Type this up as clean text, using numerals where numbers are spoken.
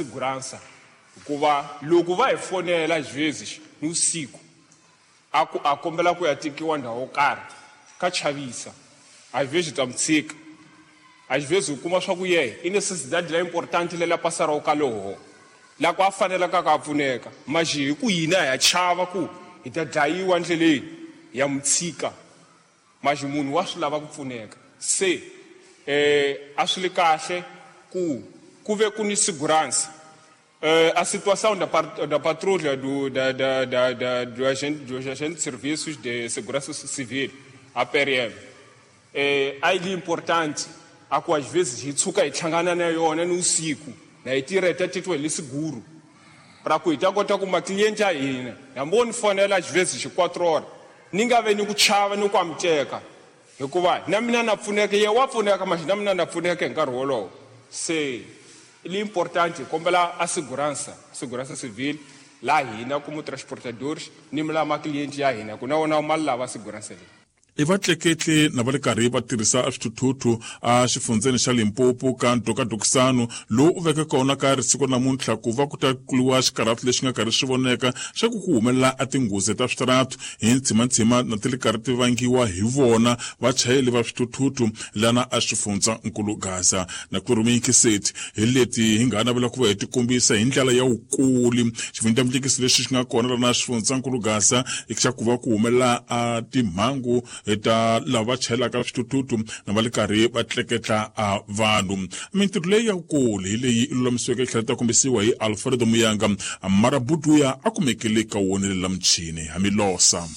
segurança hikuva loko va hi fonela às ni vusiku a ku a kombela ku ya tekiwa ndhawu yo karhi ka chavisa às vezes ta mu tshika às vezes u kuma swa ku yehe i necessidade la importante lela pasaraku ka loho la ku a fanelaka ka a pfuneka mas hi ku hina ha chava ku hi ta dlayiwa ndleleni ya mu tshika mas munhu wa swi lava ku pfuneka se a swi li kahle ku ku ve ku ni segurança a situação da patrulha do, da, da, da, da, do agente, dos agentes de serviços de segurança civil, a PRM, a yi importante a ku às vezes hi tshuka hi hlangana na yona ni usiku na hi tirha hi ta titwa hi le seguro para ku hi ta kota ku macliente ya hina hambi wo ni fonela às vezes xi 4 horas ni nga ve ni ku chava ni ku amuteka hikuva na mina na pfuneka ye wa pfuneka mas na mina na pfuneka hi nkarhi wolowo se li importante hi kombela a segurança segurança civil la hina como transportadores ni la macliente ya hina ku na wona ma lava segurança leyi. I vatleketli na va le karhi va tirhisa swithuthuthu a xifundzeni xa Limpopo ka ntokatokisano lowu u veke kona ka risiku namuntlha ku va ku ta kuliwa xikarhatu lexi nga karhi swi voneka xa ku ku humelela a tinghozi ta switaratu hi ntshimantshima na ti le karhi ti vangiwa hi vona vachayeli va swithuthuthu lana a xifundza nkulu Gaza na ku rhumikiseti hi leti hi nga navela ku va hi tikombisa hi ndlela ya wukuli xivindlamulekisi lexi xi nga kona lana xifundza nkulu Gaza xa ku va ku humelela a timhangu ta lava chayelaka swithuthuthu na va le karhi va tleketla a vanhu. Mintirho leyi ya wukulu hi leyi i lulamisiweke tlhela ta kombisiwa hi Alfredo Muyanga Marabuduya a kumekile ka wona lela muchini hamilosa.